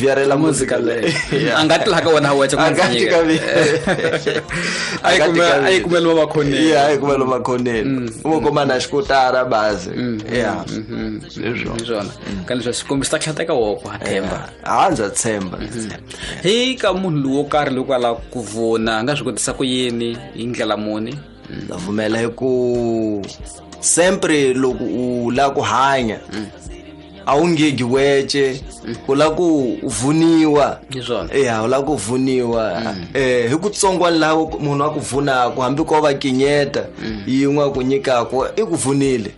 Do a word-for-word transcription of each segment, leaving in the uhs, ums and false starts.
vyarela muzika leyi. A nga ti laha ka wena weche A nga ti ka mina. A yi kumela a yi kumela makhoneni. Ya, a yi kumela makhoneni. U kuma na xikotara bazi. Ya, hi swona ka leswi swi kombisa tlhata ka woko ha themba. A ndza tshemba. Hi ka munhu lowo karhi loko a lava ku vona a nga swi kotisa ku yini hi ndlela muni? Ndza pfumela hi ku sempre loko u lava ku hanya a wu ngegi wece, u lava ku vuniwa. Hi swona. Ya, u lava ku vuniwa. Eh hi ku tsongwana laha munhu a ku vunaka, hambi ko va kinyeta yin'we a ku nyikaka, i ku vunile.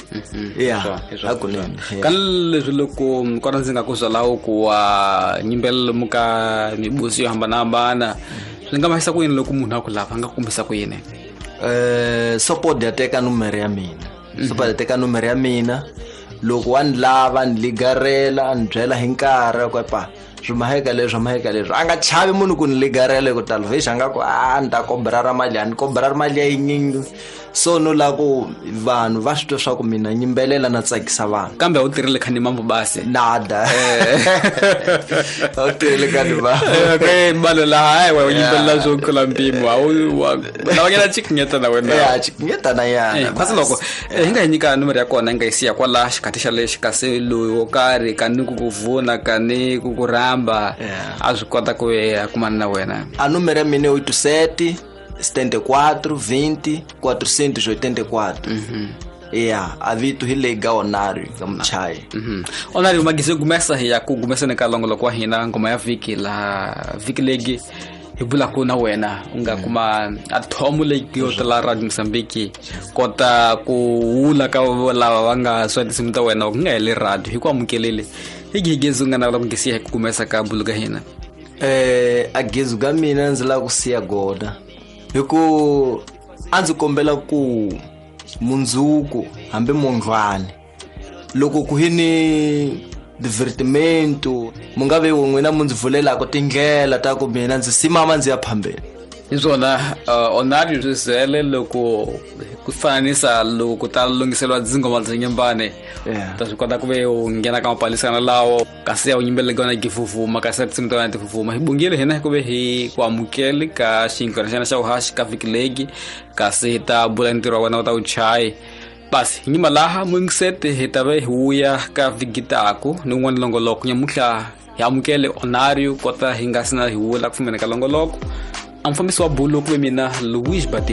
Ya, hakunene. Ka leswi loko kona ndzi nga ku byalaho ku wa nyimbelelo mu ka mibusi yo hambanahambana, swi nga mahisa ku yini loko munhu a ku lava, a nga kumbisa ku yini? Eh support ya teka numero ya mina. Support ya teka numero ya mina. Loko wa ni lava, ni ligarela, ni byela hi nkarhi ku pa swi maheka leswi, maheka leswi. A nga chavi munhu ku ni ligarela hi ku tala vhexi a nga ku a ni ta kobra ra mali, a ni kobra ra mali ya yinyingi. So no lava ku vanhu va swi twa swa ku mina nyimbelela na tsakisa vanhu. Kambe a wu tirhile khani mambo basi? Nada. A wu tirhile khani mambo. Okay, balo la hayi wa nyimbelela swo tlula mpimo. A wu wa lava ngena chikinyeta na wena. Ya, chikinyeta na yana. Kasi loko hi nga hi nyika nomoro ya kona hi nga yi siya kwala xikhathi xa lexi kasi loyi wo karhi ka ni ku ku vuna ka ni ku ku rhamba a swi kota ku ya kumana na wena. A nomoro ya mina i oito sete setenta e quatro, vinte, quatrocentos e oitenta e quatro. Ya, a vito hi leyi ga Onario ka Muchai. Onario magise gumesa hi ya ku gumeseni ka longoloko wa hina ngoma ya vhiki laha vhiki legi hi vulaka na wena u nga kuma a thomo leyi yo tala Radio Mozambique kota ku wula ka lava va nga swa tinsimu ta wena ku nga heli radio hi ku amukelele hi gigezi u nga navela ku ngisiya hi ku kumesa ka bulu ka hina. Eh a gezu ka mina ndzi lava ku siya goda hi ku a ndzi kombela ku mundzuku hambi mundlwani loko ku hi ni divertimento mu nga ve n'wina mu ndzi vulelaka tindlela ta ku mina ndzi simama ndzi ya phambeni. Hi swona Onario Zizele loko ku fananisa loko ku ta lunghiseriwa dzingoma bya nyimbane ta swi kota ku ve u nghena ka mapalisana lawo kasi ya u yimbelele ka wena gifufuma kasi ya tinsimu ta wena tifufuma. Hi bungile hina ku ve hi ku amukele ka xinkwana xana xa vuhaxi ka vhiki legi kasi hi ta bula ntirho wa wena wu ta wu chayi. Basi hi nyima laha muyingiseti hi ta ve hi wuya ka vhiki taku ni un'wana longoloko nyamuhla hi amukele Onario kota hi nga sina hi wula ku fumeni ka longoloko. A mufambisi wa bulu ku ve mina Luis Batista.